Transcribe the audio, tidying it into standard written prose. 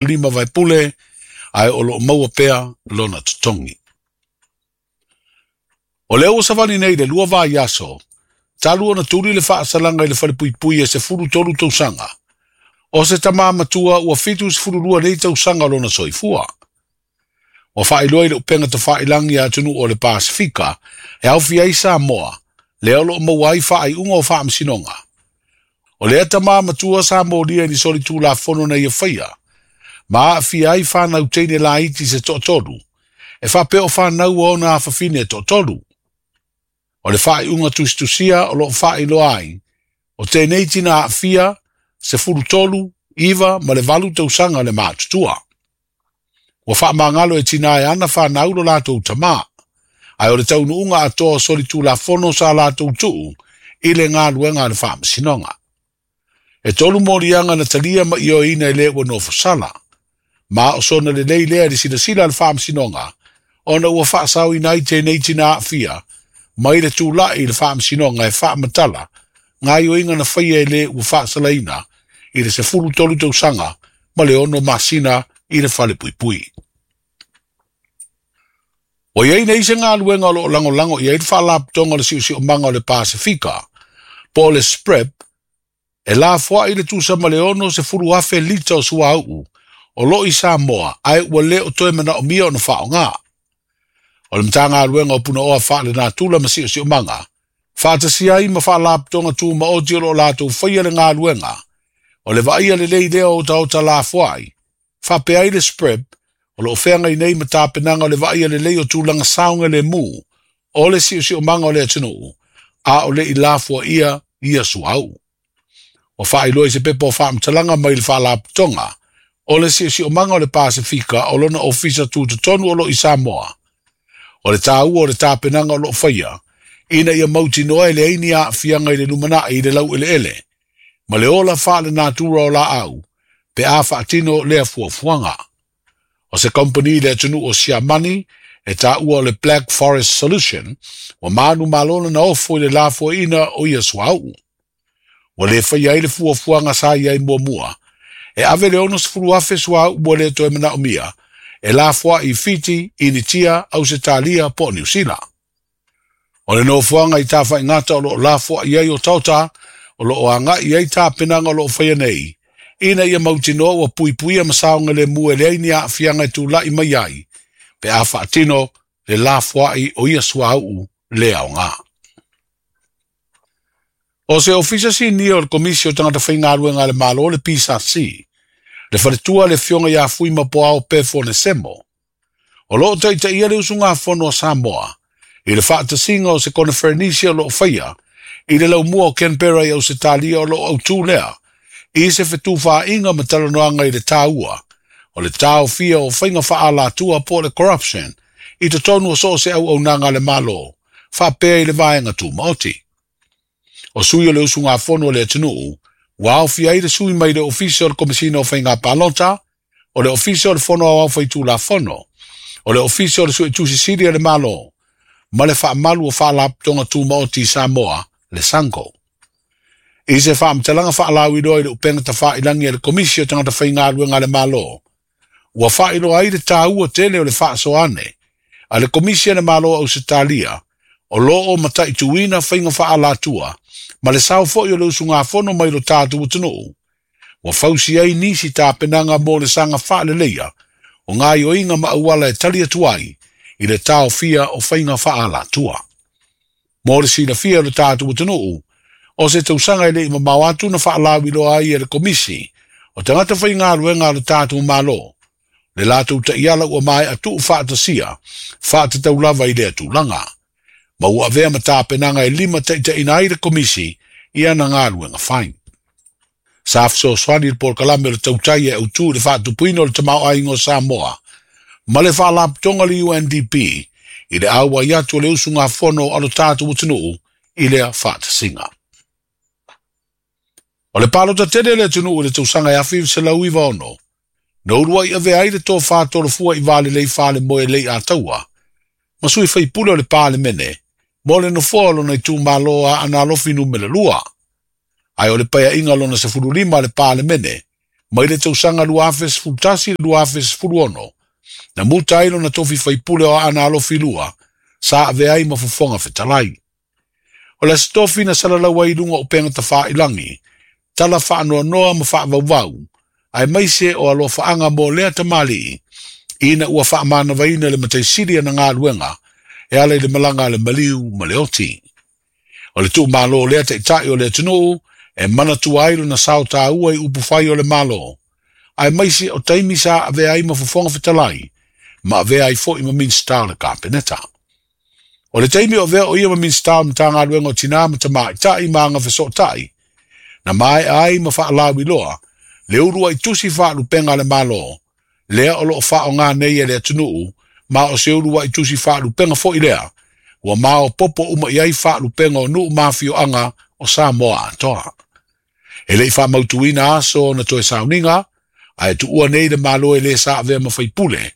5 vaipule, ae o loo maua pea lona totogi. O lea ua savali nei le 2 vaiaso, talu ona tuli le faasalaga i le falepuipui e 13 tausaga. O se tamā matua ua 72 nei tausaga lona soifua. Ua faailoa i le upega tafailagi a atunuu o le Pasefika e aofia ai Samoa, lea o loo maua ai faaiuga o faamasinoga. O lea tamā matua sa molia i ni solitulafono na ia faia, ma aafia ai fanau teine laiti se toatolu, e faapea o fanau a ona afafine e toatolu. O le faaiuga tusitusia o loo faailoa ai, o tenei tina aafia, 13, 9 ma le 8 tausaga le matutua. Ua faamagalo e tina e ana fanau lo latou tamā, ae o le taunuuga atoa o solitulafono sa latou tuu i le galuega a le faamasinoga. E 3 moliaga na talia ma ioeina e le ua nofosala, ma o sona lelei lea i le silasila a le faamasinoga, ona ua faasaoina ai tenei tina aafia, mai le tula'i i le faamasinoga e faamatala, gaioiga na faia e le ua faasalaina i le 13 tausaga ma le 6 masina i le falepuipui. Ua iai nei se galuega o loo lagolago i ai le faalapotopotoga o le Siosiomaga o le Pasefika, po o le SPREP, e lafoai le tusa ma le 60,000 lita o suauu o loo i Samoa, ae ua le o toe manaomia ona faaaoga. O le Matagaluega o Punaoa Faalenatura ma Siosiomaga, faatasia ai ma faalapotopotoga tumaoti o loo latou faia le galuega, o le vaaia lelei lea o otaota lafoai, faapea ai le SPREP, o loo feagai nei ma tapenaga o le vaaia lelei o tulaga saogalemu o le siosiomaga o le atunuu, a o le i lafoaia ia suauu. Ua faailoa i se pepa o faamatalaga mai le faalapotopotoga o le Siosiomaga o le Pasefika o lona ofisa tutotonu o loo i Samoa. O le tāua o le tapenaga o loo faia, ina ia mautinoa e leai ni aafiaga i le lumanai i le laueleele, ma le ola faalenatura o laau, pe a faatino lea fuafuaga. O se kompani le atunuu o Siamani, e taua o le Black Forest Solution, ua manu malona na ofo i le lafoaina o ia suauu. Ua le faia ai le fuafuaga sa i ai muamua, e ave le 60,000 suauu ua le toe manaomia, e lafoai i Fiti, Initia, Ausetalia po o Niu Sila. O le nofoaga i tafaigata o loo lafoai ai otaota, o loo agai ai tapenaga o loo faia nei, ina ia mautinoa ua puipuia ma saogalemu e leai ni aafiaga e tula'i mai ai, pe a faatino le lafoai o ia suauu le aoga. O se ofisa sinia o le Komisi o Tagata Faigaluega a le Malo le PSC, le faletua le afioga ia Fuimapuao Pefo Nesemo, o loo taitaia le usugafono a Samoa, i le faatasiga o se koneferenisi o loo faia, i le laumua o Canberra i Ausetalia o loo autū lea, i se fetufaaiga ma talanoaga i le tāua, o le taofia o faiga faaalatua po o le corruption, i totonu o so o se auaunaga a le Malo, faapea i le vaega tumaoti. O sui o le usugafono o le atunuu, ua aofia ai le sui mai le Ofisa o le Komesina o Faiga Palota, o le Ofisa o le Fono Aoao Faitulafono, o le Ofisa o le Suetusi Sili a le Malo, ma le faamalu o faalapotopotoga tumaoti i Samoa, le SANGO. I se faamatalaga faalauiloa i le upega tafailagi a le Komisi o Tagata Faigaluega a le Malo, ua faailoa ai le tāua tele o le faasoane a le Komisi a le Malo o Ausetalia, o loo mataituina faiga faaalatua, ma le sao foi o le usugafono mai lo tatou atunuu, ua fausi ai nisi tapenaga mo le saga faaleleia o gaioiga ma auala e tali atu ai i le taofia o faiga faaalatua. Mo le silafia o le tatou atunuu, o se tausaga e lei mamao atu na faalauiloa ai e le Komisi o Tagata Faigaluega a le tatou Malo, le latou taiala ua maea tuu faatasia, faatatau lava i lea tulaga. Ma ua avea ma tapenaga e lima taitaiina ai le Komisi i ana galuega fai. Sa fesoasoani le polokalame o le tautai e autū i le faatupuina o le tamaoaiga o Samoa, ma le faalapotopotoga le UNDP i le auai atu o le usugafono a lo tatou atunuu i lea faatasiga. O le palota tele le atunuu i le tausaga e 1996, na uluai avea ai le tofā tolofua i valelei falemoe Leiataua, ma sui faipule o le Palemene, mo le nofoa o lona itumalo a Aana Alofi numera 2. Ae o le paeaiga lona 15 a le Palemene, Mai le tausaga 2011 i le 2016, na muta ai lona tofi faipule o Aana Alofi 2, sa avea ai ma Fofoga Fetalai. O le Aso Tofi na salalau ai i luga o upega tafailagi, tala faanoanoa ma faavauvau, aemaise o alofaaga mo lea tamalii, ina ua faamanavaina le mataisili ana galuega e ala i le malaga a le maliu ma le oti. O le tuumalo o lea taitai o le atunuu e manatua ai lona sao taua i upufai o le Malo, aemaise o taimi sa avea ai ma Fofoga Fetalai, ma avea ai foi ma Minisita o le Kapeneta. O le taimi o avea o ia ma Minisita o Matagaluega o Tinā ma Tamaitai ma Agafesootai, na maea ai ma faalauiloa le uluai tusi faalupega a le Malo, lea o loo faaaoga nei e le atunuu, ma o se uluai tusi faalupega foi lea, ua maopoopo uma i ai faalupega o nuu ma afioaga o Samoa atoa. E le i faamautuina aso na toe sauniga, ae tuua nei le Malo e le sa avea ma faipule,